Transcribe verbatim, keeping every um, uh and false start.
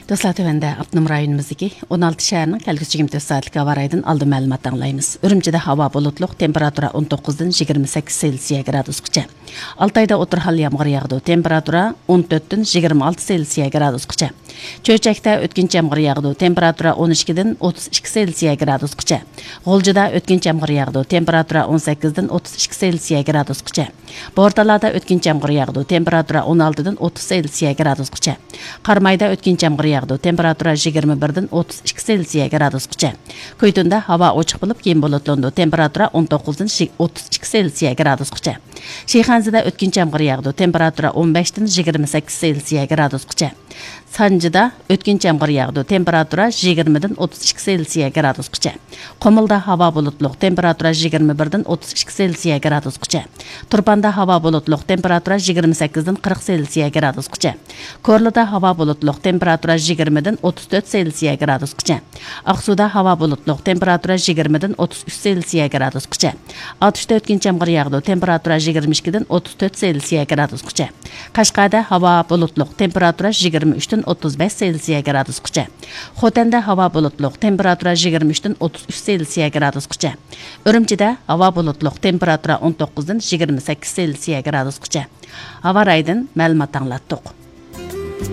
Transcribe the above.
دوستلار، تۆۋەندە ئاپتونوم رايونىمىزدىكى ئون ئالتە شەھەرنىڭ كەلگۈسى يىگىرمە تۆت سائەتلىك ھاۋا رايىدىن ئالدىن مەلۇمات ئاڭلايمىز. ئۈرۈمچىدە ھاۋا بۇلۇتلۇق، تېمپېراتۇرا ئون توققۇزدىن يىگىرمە سەككىز سېلسىيە گرادۇسقىچە. ئالتايدا ئوتتۇرا ھال يامغۇر ياغىدۇ، تېمپېراتۇرا ئون تۆتتىن يىگىرمە ئالتە سېلسىيە گرادۇسقىچە. چۆچەكتە ئۆتكۈنچى يامغۇر ياغىدۇ، تېمپېراتۇرا ئون ئىككىدىن ئوتتۇز ئىككى سېلسىيە گرادۇسقىچە. غۇلجىدا ئۆتكۈنچى يامغۇر ياغىدۇ، تېمپېراتۇرا ئون سەككىزدىن ئوتتۇز ئىككى سېلسىيە گرادۇسقىچە. بورتالادا ئۆتكۈنچى يامغۇر ياغىدۇ، تېمپېراتۇرا ئون ئالتىدىن ئوتتۇز سېلسىيە گرادۇسقىچە. قارامايدا ئۆتكۈنچى يامغۇر ياغىدۇ، تېمپېراتۇرا يىگىرمە بىردىن ئوتتۇز ئىككى سېلسىيە گرادۇسقىچە. كۇيتۇندا ھاۋا ئوچۇق بولۇپ، كېيىن بۇلۇتلىنىدۇ، تېمپېراتۇرا ئون توققۇزدىن ئوتتۇز ئىككى سېلسىيە گرادۇسقىچە. شىخەنزىدە ئۆتكۈنچى يامغۇر ياغىدۇ، تېمپېراتۇرا ئون بەشتىن يىگىرمە سەككىز سېلسىيە گرادۇسقىچە. سانجىدا ئۆتكۈنچى يامغۇر ياغىدۇ، تېمپېراتۇرا يىگىرمىدىن ئوتتۇز ئىككى سېلسىيە گرادۇسقىچە. قۇمۇلدا ھاۋا بۇلۇتلۇق، تېمپېراتۇرا يىگىرمە بىردىن ئوتتۇز ئىككى سېلسىيە گرادۇسقىچە. تۇرپاندا ھاۋا بۇلۇتلۇق، تېمپېراتۇرا يىگىرمە سەككىزدىن قىرىق سېلسىيە گرادۇسقىچە. كورلىدا ھاۋا بۇلۇتلۇق، تېمپېراتۇرا يىگىرمىدىن ئوتتۇز تۆت سېلسىيە گرادۇسقىچە. ئاقسۇدا ھاۋا بۇلۇتلۇق، تېمپېراتۇرا يىگىرمىدىن ئوتتۇز ئۈچ سېلسىيە گرادۇسقىچە. ئاتۇشتا ئۆتكۈنچى يامغۇر ياغىدۇ، تېمپېراتۇرا يىگىرمە ئىككىدىن ئوتتۇز تۆت سېلسىيە گرادۇسقىچە. قەشقەردە ھاۋا بۇلۇتلۇق، تېمپېراتۇرا يىگىرمە ئۈچتىن ئوتتۇز بەش سېلسىيە گرادۇسقىچە. خوتەندە ھاۋا بۇلۇتلۇق، تېمپېراتۇرا يىگىرمە ئۈچتىن ئوتتۇز ئۈچ سېلسىيە گرادۇسقىچە. ئۈرۈمچىدە ھاۋا بۇلۇتلۇق، تېمپېراتۇرا ئون توققۇزدىن يىگىرمە سەككىز سېلسىيە گرادۇسقىچە. ھاۋا رايىدىن مەلۇمات ئاڭلاتتۇق.